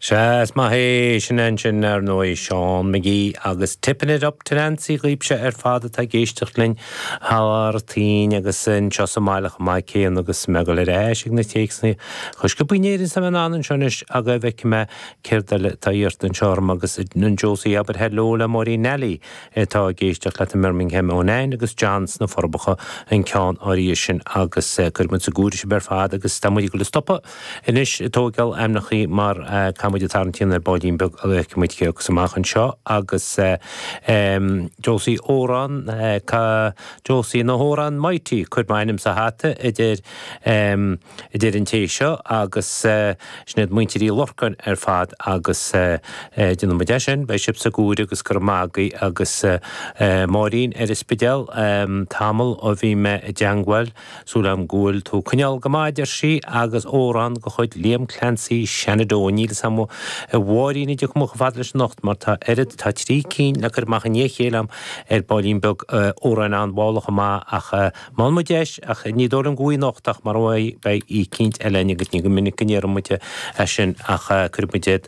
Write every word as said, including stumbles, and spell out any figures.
Sea is maith é sin ansin ar ndóigh Seán McGee agus Tipping It Up to Nancy daoibhse ar fad atá ag éisteacht linn thar toinn agus anseo sa mbaile chomh maith céanna agus mé ag dul ar ais ag na téacsanna Chos go bunéir sa an anseo anois agus feicfidh mé céard eile atá iarrta anseo orm agus an Josie abair hello le Máirín Nally atá ag éisteacht leat i mBirmingham ó Nain agus John sna Forbacha an ceann áirithe sin agus cuirfidh muid sa gcúir sibh ar fad agus tá muid ag dul a stopadh anois ag tógáil ainmneacha mar tá muid ag tarraingt ar baillín beag a muid agus amach anseo agus Josie amhrán Josie na hamhrán Mighty cuir m'ainm sa hata idir idir an té seo agus sin iad muintir Uí Lorcáin ar fad agus déanfaidh muid é sin beidh sibh sa gcúir agus gur magaí agus Máirín ar an Spidéal tamall ó bhí mé i dteagmháil súil agam go bhfuil tú coinneáil go maith ar sí agus amhrán de chuid Liam Clancy Shenandoah níl sam a Mháirín idir cumach fad leis anocht mar tá oiread tá trí cinn le cur amach in chéile ar baillín beag amhráin an-mhálach amach ach má mu deis ach ní dóigh liom go bhfuil anocht ach mar beidh í cinint eile agus ní go minic go ndéarfaidh muid é sin ach cuirfidh muid iad